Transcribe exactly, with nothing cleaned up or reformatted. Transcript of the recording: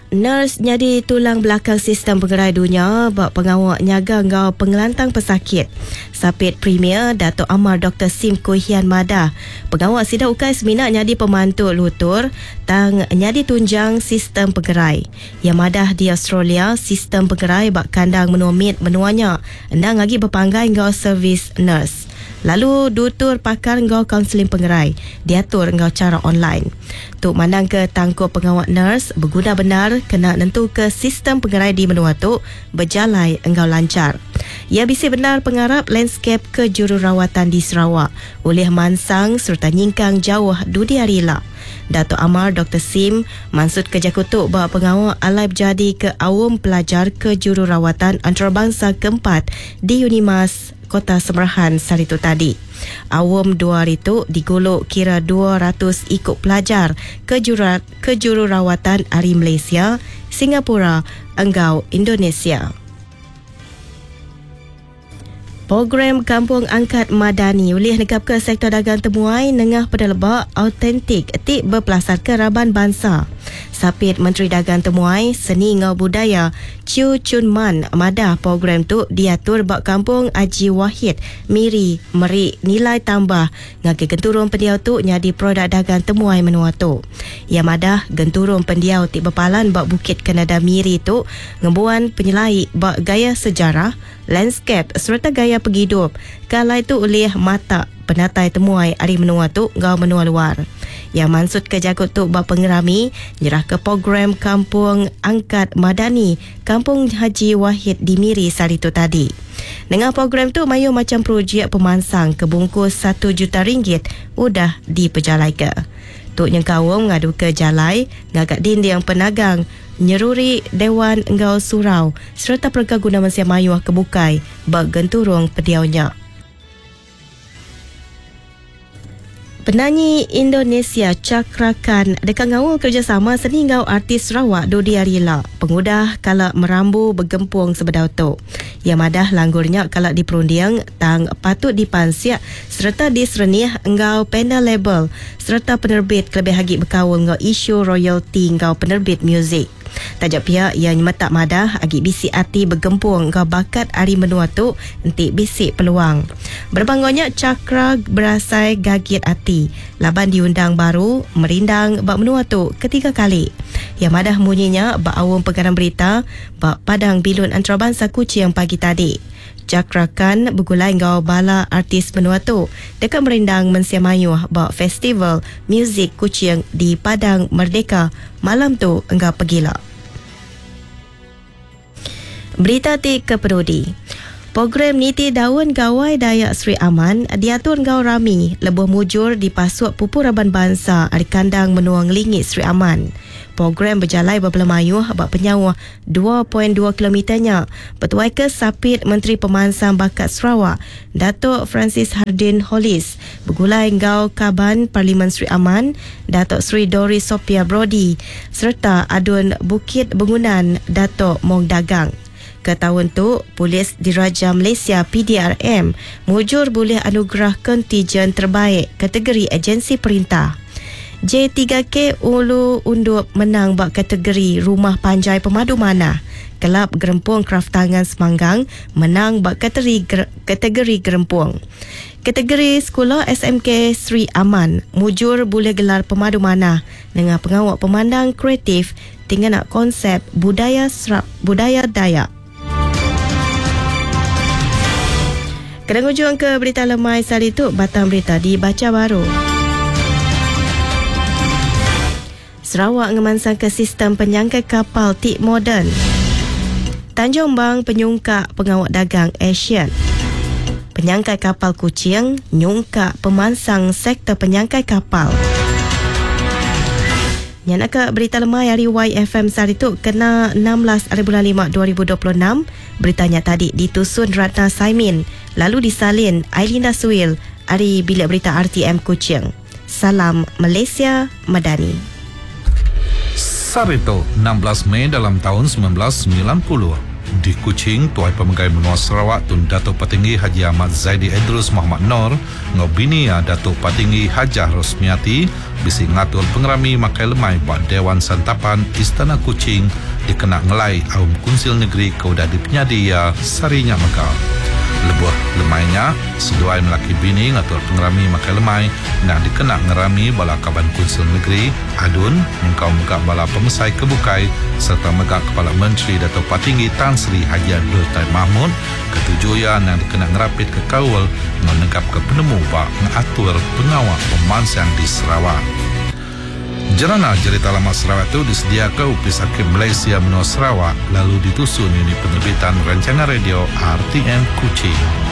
Nurse nyadi tulang belakang sistem pengerai dunya ba pengawa nyaga enggau pengelantang pesakit. Sapit Premier Datuk Amar Doktor Sim Kui Hian madah, pengawa sida ukai semina nyadi pemantu lutur tang nyadi tunjang sistem pengerai. Iya madah di Australia, sistem pengerai ba kandang menua mit menua nya endang agi bepanggai enggau servis nurse. Lalu dutur pakar enggau kaunseling pengerai diatur enggau chara online. Tu mandangka tangkup pengawa nurse beguna bendar kena nentuka sistem pengerai di menua tu bejalai enggau lanchar. Iya bisi bendar pengarap landscape kejururawatan di Sarawak ulih mansang sereta nyingkang jauh dudi hari ila. Datuk Amar Doktor Sim mansutka jaku tu ba pengawa alai bejadi ke Aum Pelajar Kejururawatan Antarabangsa keempat di Unimas, Kota Semerahan sehari tu tadi. Aum dua hari tu digulu kira dua ratus ikut pelajar kejuru, kejururawatan ari Malaysia, Singapura enggau Indonesia. Program Kampung Angkat Madani ulih negapka sektor dagang temuai nengah peneleba autentik ti bepelasarka raban bansa. Sapit Menteri Dagang Temuai, Seni enggau Budaya Chew Chun Man madah program tu diatur ba Kampung Haji Wahid, Miri meri nilai tambah ngagai genturung pendiau tu nyadi produk dagang temuai menua tu. Ia madah genturung pendiau ti bepalan ba Bukit Kanada Miri tu ngembuan penyelai ba gaya sejarah, landscape sereta gaya penghidup. Kalai tu ulih mata penatai temuai ari menua tu enggau menua luar. Yang mansut ke jago tu ba pengerami nyerah ke program Kampung Angkat Madani Kampung Haji Wahid di Miri sehari tu tadi. Dengan program tu mayu macam projek pemansang ke bungkus satu juta ringgit udah dipejalai ke. Tu nyengkaung ngadu ke jalai, ngagak dinding penagang, nyeruri Dewan enggau Surau sereta perengka guna mensia mayuh kebukai ba genturung pediaunya. Penanyi Indonesia Cakra Khan deka ngaul kerjasama seni enggau artis Sarawak dudi hari ila pengudah kala merambu bergempung sebedau tu. Ia madah langgurnya kala diperunding tang patut dipansiak sereta diserenih enggau panel label sereta penerbit kelebih agi berkaul enggau isu royalti enggau penerbit muzik. Tajak pihak ia nyemetak madah agi bisi ati bergempung enggau bakat ari menua tu enti bisi peluang. Berbangunnya Cakra berasai gagit ati laban diundang baru merindang ba menua tu ketiga kali. Ia madah bunyinya ba awam pengarang berita ba Padang Bilun Antarabangsa Kuching pagi tadi. Cakra Khan bergulai enggau bala artis menua tu deka merindang mensia mayuh ba Festival Muzik Kuching di Padang Merdeka malam tu enggau pegila. Berita ti keperudi. Program Niti Daun Gawai Dayak Sri Aman diatur enggau rami lebuh mujur dipasuk pupu raban bangsa ari kandang menua ngelingi Sri Aman. Program berjalai berbela mayuh ba penyauh dua perpuluhan dua kilometernya bertuai ke Sapit Menteri Pemansang Bakat Sarawak Datuk Francis Hardin Hollis bergulai enggau Kaban Parlimen Sri Aman Datuk Sri Doris Sophia Brody serta Adun Bukit Bengunan Datuk Mong Dagang. Ke tahun tu, Polis Diraja Malaysia P D R M mujur bulih anugerah kontijen terbaik kategori agensi perintah. J tiga K Ulu Undup menang bak kategori Rumah Panjai Pemadu Manah. Kelab Gerempung Kraft Tangan Semanggang menang bak kategori, kategori Gerempung. Kategori Sekolah S M K Sri Aman mujur boleh gelar Pemadu Manah dengan pengawal pemandang kreatif tinggal nak konsep budaya serap, budaya Dayak. Kena ujung ke berita lemai sehari tu, batang berita dibaca baru. Sarawak ngemansang ke sistem penyangkai kapal tik moden. Tanjung Bang penyungkak pengawal dagang ASEAN. Penyangkai kapal Kuching nyungkak pemansang sektor penyangkai kapal. Yang nak ke berita lemai hari Y F M sehari tu kena enam belas hari bulan lima dua ribu dua puluh enam. Beritanya tadi ditusun Ratna Saimin lalu disalin Ailinda Suil hari Bilik Berita R T M Kuching. Salam Malaysia Madani. Sarito enam belas Mei dalam tahun sembilan belas sembilan puluh. Di Kuching, Tuai Pemegai Menua Sarawak Tun Datuk Patinggi Haji Ahmad Zaidi Edruce Mohamad Noor enggau bini iya Datuk Patinggi Hajah Rosmiati bisi ngatur pengerami makai lemai ba Dewan Santapan Istana Kuching dikena ngelai Aum Kunsil Negeri ke udah dipenyadi iya sehari nya mega. Lebuh lemai nya, seduai melaki bini ngatur pengerami makai lemai endang dikena ngerami bala Kaban Kunsil Negeri, ADUN, nyengkaum mega bala pemesai ke bukai sereta mega Kepala Menteri Datuk Patinggi Tan Sri Haji Abdul Taib Mahmud ke tuju iya endang dikena ngerapitka kaul enggau negapka penemu ba ngatur pengawa pemansang di Sarawak. Jerana Jerita Lama Sarawak tu disediaka Opis Arkib Malaysia Menua Sarawak lalu ditusun Unit Penerbitan Rancangan Radio R T M Kuching.